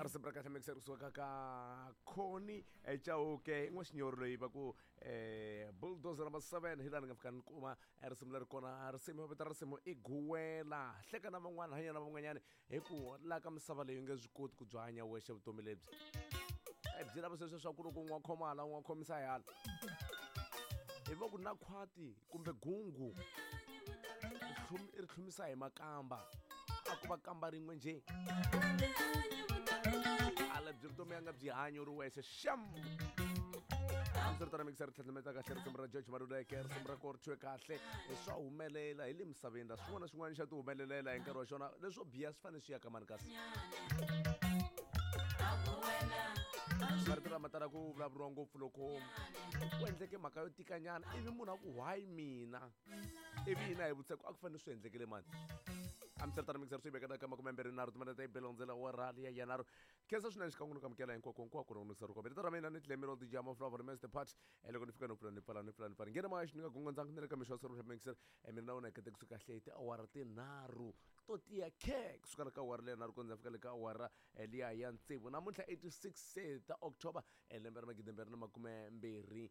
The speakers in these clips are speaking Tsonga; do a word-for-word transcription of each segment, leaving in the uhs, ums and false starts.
Risimu ra kahle mixer kusuka ka Connie Chauke n'waxinyori loyi va ku um bulldozer number seven hi laha ni nga fika ni kuma risimu leri kona. Risimu vito ra risimu i Guwela. Hleka na van'wana, hanya na van'wanyana, hi ku laha ka misava leyi u nge swi koti ku byi hanya wexe vutomi lebyi. Byi lava sweswo swa ku loko un'we khoma hala, un'we khomisa hi hala, hi va ku na khwati kumbe gungu ri tlhumisa hi makamba, a ku va kamba rin'we njhe. Ala byi vutomi ya nga byi hanyi u ri wexe xam. Hambiritano mixer ri tlhandlameta kahle risimu ra George Maluleke, risimu ra ko ri thyiwe kahle. Swa humelela hi le misaveni la, swin'wana na swin'wana xa ti humelelela hi nkarhi wa xona, leswo biha swi fanele swi ya ka mani. Kasi marito lama tala ku vulavuriwa ngopfu loko ku endleke mhaka yo tikanyana, ivi munhu a ku why mina, ivi hina hi vutisa ku a ku fanele swi endlekele mani. Hambiswiritano mixer swi vekela ka makume mbirhi nharhu timinete belondzela wa rali ya yanharhu. Khensa swinene xikan'we no kamukela hinkwako hinkwako no nisa rukome. Rito ra mina ni Tlemiro D J Maflavor Master Part. Loko ni fika no pfula ni pfala ni pfula ni pfala nghena moya xi ni nga gongondzanga ni le ka mixo wa mixer. Mina na wena hi katekisa kahle hi tiawara tinharhu to tiya khe kusuka ka awara leya nharhu ku ndza fika le ka awara liya ya tsevu namuntlha eighty-six ta October lembe ra magidi mbirhi na makume mbirhi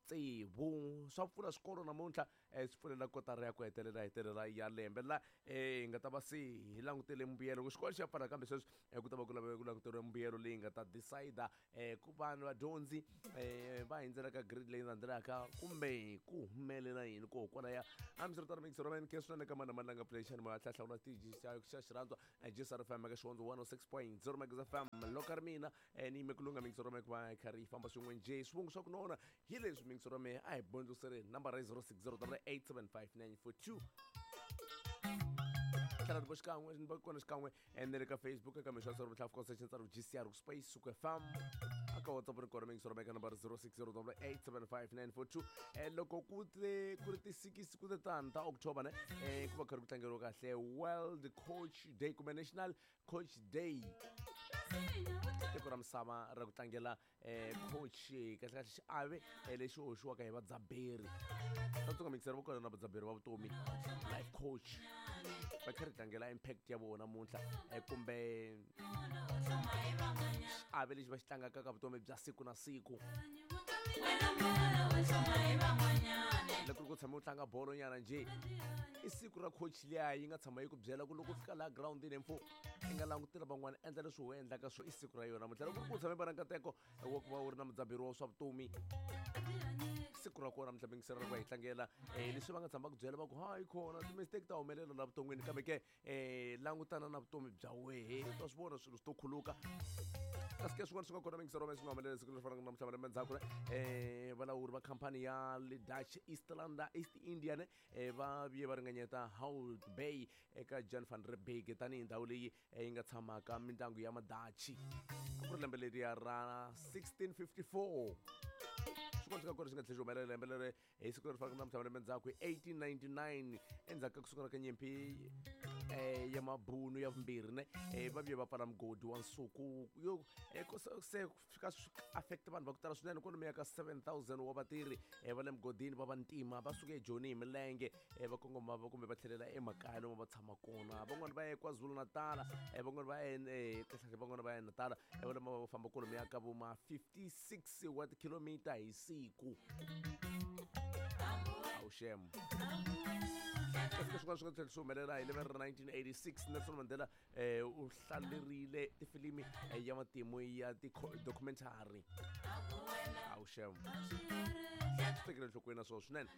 tsevu. Swa pfula swikolo namuntlha, swi pfulela kotara ya ku hetelela hetelela ya lembe la hi nga ta va se hi langutele mbuyelo ku xikolo xi ya pfala, kambe sweswi ku ta va ku lave ku languteriwa mbuyelo leyi nga ta decide ku vanhu vadyondzi va hindzela ka grade leyi landzelaka kumbe ku humelela yini ko kwalaya. Hambiswiritano mixer ra khe swinene ka mani na mani la nga pfulexani moya hlahlawula tiji xa xirhandzwa G S R F M ka Xihondzo one oh six point zero Megas F M. Loko ri mina ni yime ku lunga mixer ra mehe ku va kha ri famba swin'we njhe swivongo swa ku nona hi leswi mixer ra mehe a hi bondzosereni nambara yi zero six zero eight seven five nine four two. Tlhela ni xikan'we ni va kona xikan'we ni le ka Facebook eka mixo ya swa vuhlafu concession tsaro G C R ku Space Suku F M aka WhatsApp ri kona mixer ra mehe ka nambara zero six zero eight seven five nine four two. Loko ku te ku ri ti six ku te tani ta October ne ku va kha ri ku tlangeriwa kahle World Coach Day kumbe National Coach Day, tiko ra misava ra ku tlangela coach kahle kahle xiave lexi hoxiwaka hi vadzaberi. Tsundzuka mixer va kona na vadzaberi va vutomi life coach va kha ri tlangela impact ya vona namuntlha kumbe xiave lexi va xi tlangaka ka vutomi bya siku na siku. Loko ku tshame u tlanga bolo nyana njhe i siku ra coach liya yi nga tshama yi ku byela ku loko u fika laha groundini mfo i nga langutela van'wana endla leswi u endlaka swo i siku ra yona namuntlha. Loko ku tshame va na nkateko wa ku va u ri na mudzaberi wa swa vutomi, siku ra kona namuntlha mixer ra ku hi tlangela leswi va nga tshama ku byela va ku hayi kona ti-mistake ta humelela la vuton'wini, kambe ke langutana na vutomi bya wehe u ta swi vona swilo swi to khuluka. Kasi ke swin'wana swi nga kona mixer ra swi nga humelela siku leri fanaka na namuntlha malembe ndzhaku valawuri va khampani ya le Dutch Eastlanda East Indian va vuye va ringanyeta Hout Bay eka Jan van Riebeeck tanihi ndhawu leyi yi nga tshamaka mindyangu ya Madachi. A ku ri lembe leriya ra sixteen fifty-four. Swin'wana swi nga kona swi nga tlhela swi humelela lembe leri hi siku leri fanaka na namuntlha malembe ndzhaku hi eighteen ninety-nine endzhaku ka ku sungula ka nyimpi ya mabunu ya vumbirhi ne va vuye va pfala mugodi wa nsuku yo se fika swi affect vanhu va ku tala swinene kwalomuya ka seven thousand wa vatirhi va le mugodini va vantima va suke eJoni hi milenge va kongoma kumbe va tlhelela emakaya lomu va tshama kona. Van'wani va ye KwaZulu-Natal, van'wani va ye kahlekahle van'wani va ye Natal, va va famba kwalomuya ka vo ma fifty-six wa tikhilomitara hi siku. Awu xem. Kasi swin'wana swi nga tlhela swi humelela hi lembe ra nineteen eighty-six Nelson Mandela u hlalerile tifilimi ya matimu ya ti-documentary. Awu xem, swi tekele enhlokweni na swona swinene.